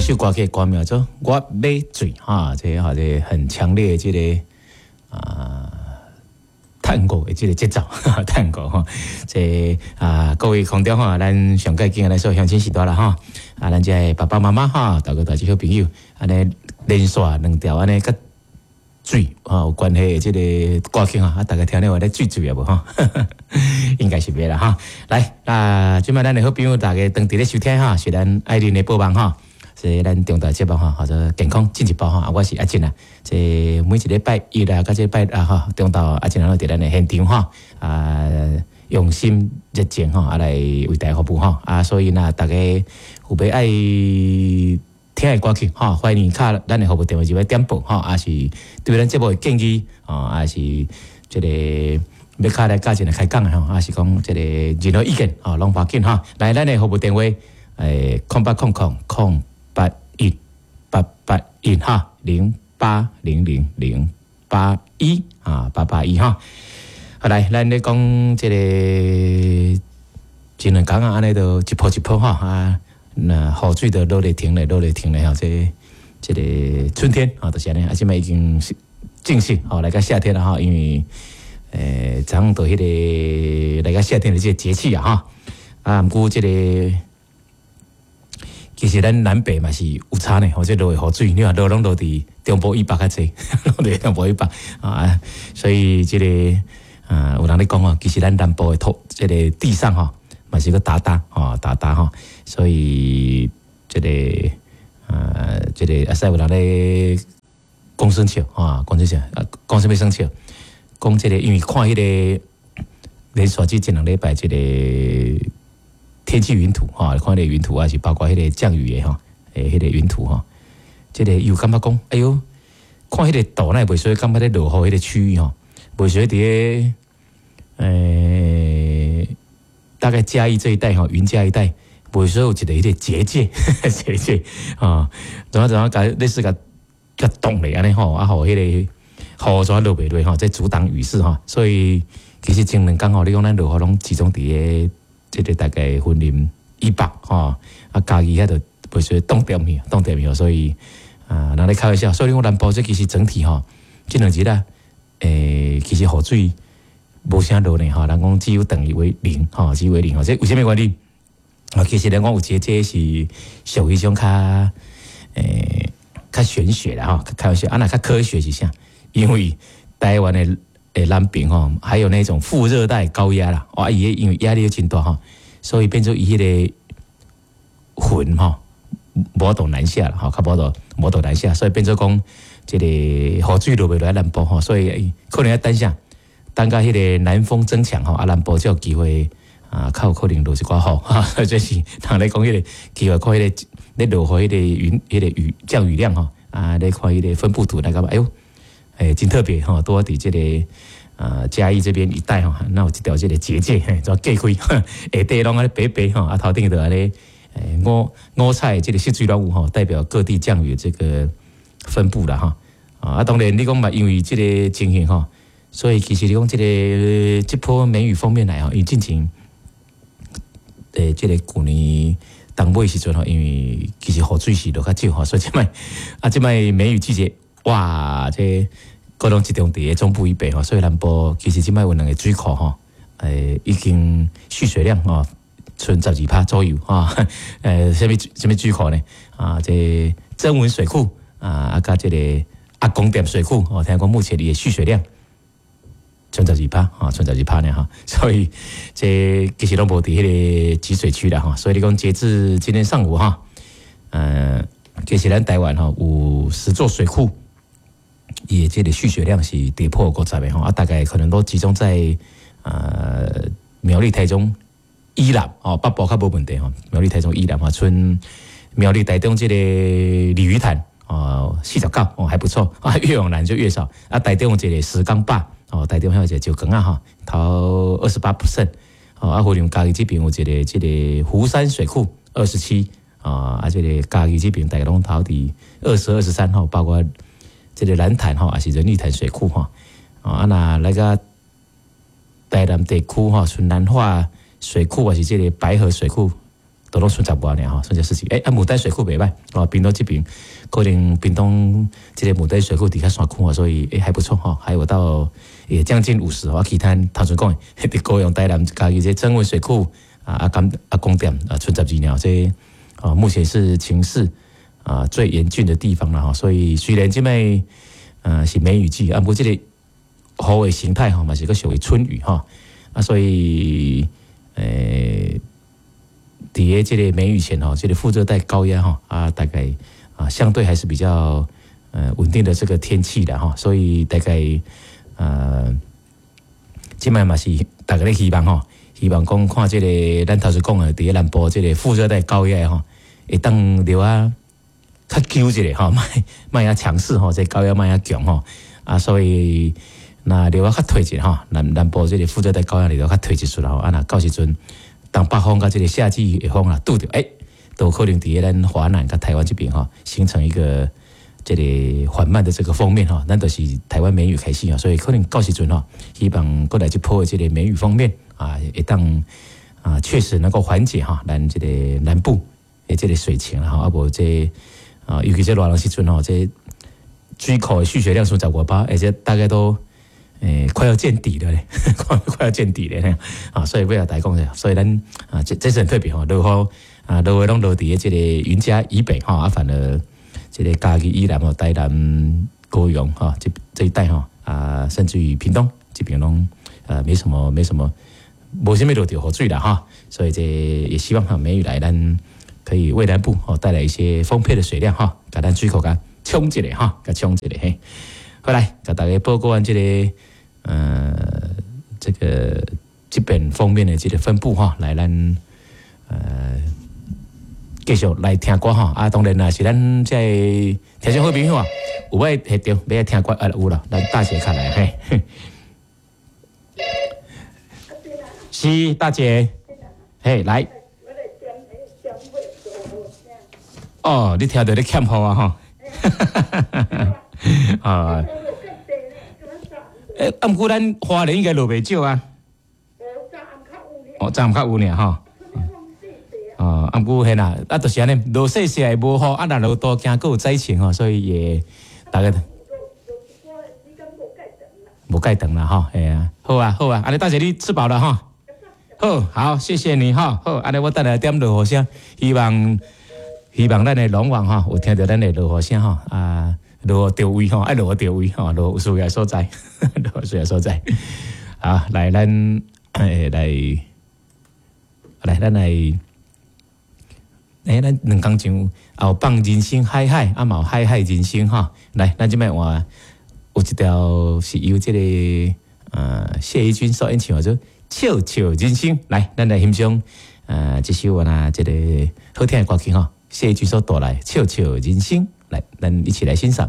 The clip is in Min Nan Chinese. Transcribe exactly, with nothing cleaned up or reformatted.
首歌曲歌名做《我欲水》哈，這個這個很強烈的這個啊探戈的這個節奏，探戈吼。這啊各位空中吼，咱上蓋敬的咱所有鄉親序大啦吼，啊咱這个爸爸媽媽哈，大哥大姐好朋友，按呢連續兩條按呢佮水吼有關係的這個歌曲哈，啊大家聽了有咧醉醉啊無吼？應該是袂啦哈。來，啊，這擺咱的好朋友大家當佇咧收聽哈，是咱愛玲的播放哈，是咱重大節目哈，叫做健康進一步哈。我是阿進啊，這每一禮拜一啊，佮這拜六哈，中晝阿進攏佇咱的現場哈，啊，用心熱情吼，啊來為大家服務吼，啊，所以呢，大家有欲愛聽的歌曲吼，歡迎敲咱的服務電話入來點播吼，抑是對咱節目的建議吼，抑是這個欲敲來佮一個開講的吼，抑是講這個任何意見吼，攏無要緊吼。來，咱的服務電話，欸，空八空空空八一八八一哈，零八零零零八一啊，八八一哈。好來，咱咧講這個前兩工啊，按呢都一波一波哈啊。那雨水都落咧停咧，落咧停咧吼，這這個春天啊，就是按呢，啊，這擺已經正式吼來到夏天了哈，因為欸，早上到彼個來到夏天的這個節氣啊哈，啊，毋過這個其實咱南北嘛是有差呢，吼，這落的雨水，你看落攏落佇中部以北較濟，落佇中部以北啊，所以這個啊，有人咧講哦，其實咱南部的土，這個地上吼，嘛是閣焦焦吼，焦焦吼，所以這個啊，這個啊，使有人咧講耍笑吼，講耍笑，啊，講啥物耍笑？講這個，因為看彼個連續這前兩禮拜這個天氣雲圖吼，看彼個雲圖抑是包括彼個降雨的吼，欸，彼個雲圖吼，這個伊有感覺講，哎喲，看彼個圖，哪會袂說感覺咧落雨彼個區域吼，袂說佇咧，欸，大概嘉義這一帶吼，雲嘉一帶，袂說有一個彼個結界，結界啊，怎啊怎啊，共類似共共擋咧按呢吼，啊，予彼個雨怎落袂落吼，這阻擋雨勢吼，所以其實前兩工吼，你講咱落雨攏集中佇咧這個大概雲林以北吼，啊，嘉義遐就袂說凍點去，凍點去，所以啊，人咧開玩笑，所以講南部這其實整體吼，這兩日啊，欸，其實雨水無啥落呢吼，人講幾乎等於為零吼，幾乎為零吼，這為啥物原因？啊，其實人講有一個這是屬於一種較欸較玄學啦吼，開玩笑，啊若較科學是啥？因為台灣的的南邊吼，還有那種副熱帶高壓啦，哇，伊因為壓力真大吼，所以變做伊彼個雲吼，無法度南下啦，吼，較無法度無法度南下，所以變做講這個雨水落袂落來南部吼，所以可能欲等啥，等到彼個南風增強吼，啊南部才有機會啊，較有可能落一寡雨，哈，這是人咧講彼個機會看彼個咧落雨彼個雲彼個雨降雨量吼，啊咧看彼個分布圖來感覺，哎喲，欸，真特別吼，拄仔佇這個啊嘉義這邊一帶吼，那有一條這個結界，嘿，怎隔開，下底攏按呢白白吼，啊頭頂就按呢五五彩這個色水攏有吼，代表各地降雨這個分布啦吼。啊，當然你講嘛，因為這個情形吼，所以其實你講這個這波梅雨鋒面來吼，伊進前欸，這個舊年冬尾時陣吼，因為其實雨水是落較少吼，所以這擺啊，這擺梅雨季節，哇，這閣攏集中佇咧中部以北吼，所以南部其實這擺有兩個水庫吼，欸，已經蓄水量吼，賰十二趴左右吼，欸，啥物啥物水庫呢？啊，這曾文水庫啊，啊，佮這個阿公店水庫，哦，聽講目前伊的蓄水量賰十二趴，吼，賰十二趴呢，吼，所以這其實攏無佇彼個集水區啦，吼，所以你講截至今天上午哈，呃，其實咱台灣吼有十座水庫，伊的這個蓄水量是跌破五十個吼，啊，大概可能都集中在呃苗栗、台中以南哦，北部較無問題吼，苗栗、台中以南吼，賰苗栗、台中這個鯉魚潭哦，四十九哦，還不錯啊，越往南就越少啊，台中這個石岡壩哦，台中還有一個石岡仔吼，頭二十八 percent 哦，啊，雲林嘉義這邊有一個這個湖山水庫二十七啊，啊，這個嘉義這邊大概攏頭佇二十二十三吼，包括這個蘭潭吼，抑是仁義潭水庫吼，啊，若來個台南地區吼，賰南化水庫抑是這個白河水庫，都攏賰十外爾吼，賰十四級。欸，啊，牡丹水庫袂䆀哦，屏東這邊可能屏東這个牡丹水庫佇較山區啊，所以欸還不錯吼，還有到也將近五十哦。其他頭先講的，佇高雄、台南、嘉義這曾文水庫啊，啊甘啊光點啊，賰十二爾，這啊目前是情勢啊最嚴峻的地方了吼。所以雖然這擺呃是梅雨季，啊，毋過這個雨的形態吼嘛是閣屬於春雨吼啊，所以欸。佇咧這個梅雨前吼，這個副熱帶高壓吼啊，大概啊相對還是比較呃穩定的這個天氣的吼，所以大概呃，這擺嘛是大家咧希望吼，希望講看這個咱頭先講的佇咧南部這個副熱帶高壓吼，會當留啊較久一下吼，莫莫遐強勢吼，這個高壓莫遐強吼啊，所以若留啊較退一下吼，南南部這個副熱帶高壓留較退一出來吼，啊若到時陣。東北風佮這个夏季的風啊，拄著欸，都可能佇咧咱華南佮台灣這邊吼，形成一個這個緩慢的這個鋒面吼，咱就是台灣梅雨開始啊，所以可能到時陣吼，希望過來這波的這個梅雨鋒面啊，會當啊確實能夠緩解哈，咱這個南部的這個水情啦吼，啊無這啊，尤其這熱人時陣吼，這水庫的蓄水量賰十外趴，而且大概都。欸，快要見底了咧，快快要見底了咧啊！所以欲共大家講者，所以咱啊，這這是很特別吼，落雨啊，落雨攏落佇這個雲嘉以北吼，啊，反而這個嘉義以南吼，台南、高雄吼，這這一帶吼啊，甚至於屏東這邊攏呃沒什麼沒什麼，無啥物落著雨水啦哈，所以這也希望哈梅雨來，咱可以為南部吼帶來一些豐沛的水量哈，共咱水庫共充一下哈，共充一下嘿。好來，共大家報告完這個。呃，這個這邊鋒面的這個分布哈，來咱呃繼續來聽歌哈。啊，當然啦，是咱這個聽眾好朋友啊，有欲彼著欲愛聽歌啊，有啦，咱大姐較來嘿。是大姐，嘿來。哦，你聽著咧欠雨啊吼。啊。欸，啊，毋過咱花蓮應該落袂少啊。哦，昨暗較有爾吼。哦，啊，毋過彼啦，啊，就是按呢，落細細會無雨，啊，若落多驚閣有災情吼，所以也大概無蓋長啦吼，嘿啊，好啊，好啊，按呢大姐你吃飽了吼？好，好，謝謝你吼，好，按呢我等下點落雨聲，希望希望咱的龍王吼有聽著咱的落雨聲吼啊。落雨著位吼，愛落雨著位吼，落雨有需要所在，落雨需要所在。好，來咱欸來來咱來，欸，咱兩工前也有放人生海海，啊嘛有海海人生吼。來，咱這擺換有一條是由這個呃謝宜君所演唱的，做《笑笑人生》。來，咱來欣賞呃這首啊這個好聽的歌曲吼，謝宜君所帶來《笑笑人生》。來，咱一起來欣賞。